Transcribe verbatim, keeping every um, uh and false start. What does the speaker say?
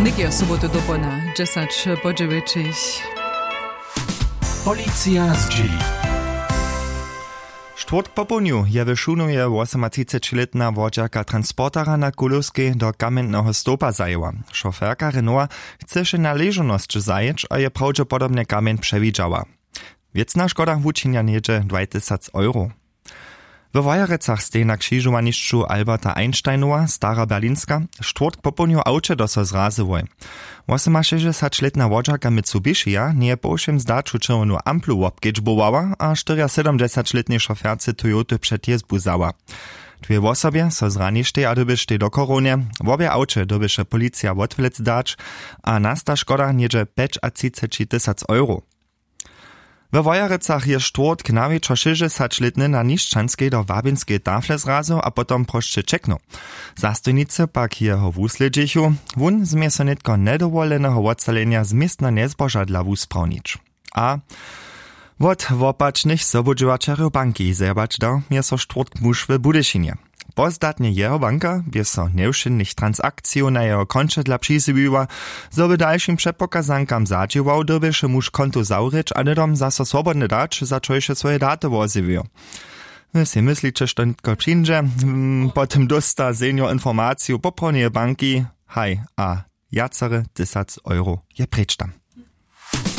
Někeho sobotu dopołdnja dźesać po dźewjećich. Policija zdźěli. Štwórtk popołdnju je w Šunowje wosomatřicećilětna wodźerka transportera na Kulowskej do kamjenneho stołpa zajěła. Šoferka Renaulta chceše na ležownosć zajěć a je prawdźepodobnje kamjeń přewidźała. Wěcna škoda wučinja něhdźe dwaj tysac euro. We Wojerecach stej na křižowanišću Alberta Einsteinowa, Stara Berlinska, štwórtk popołdnju awče do so zrazyłoj. Wosomašěsćdźesaćlětna wodźerka Mitsubishija njeje po wšěm zdaću čerwjenu amplu wobkedźbowała a štyriasydomdźesaćlětnej šoferce Toyoty před jězbu wzała. Dwě wosobje so zraništej a dyrbještej do chorownje. Wobě awče dyrbješe policija wotwlec dać a nasta škoda něhdźe pjećatřiceći tysac euro. We Wojerecach je štwórtk nawječor šěsćdźesaćlětny na nišćanskej do wabinskej tafle zrazył a potom prosće ćeknył. Zastojnicy pak jeho wuslědźichu. Wón změje so nětko njedowoleneho wotsalenja z městna njezboža dla wusprawnić. A wot wopačnych sobudźěłaćerjow banki zjebać dał mje so štwórtk muž w Budyšinje. Pozdatnje jeho banka bě so njewšědnych transakcijow na jeho konće dla přizjewiła. Zo by dalšim předpokazankam zadźěłał, dyrbješe muž konto zawrěć a hnydom zaso swobodnje dać, za čož je swoje daty wozjewił. Wy sej mysliće, što nětko přińdźe? Hm, potom dósta senior informaciju poprawneje banki. Haj, a wjacere tysac euro je preč tam.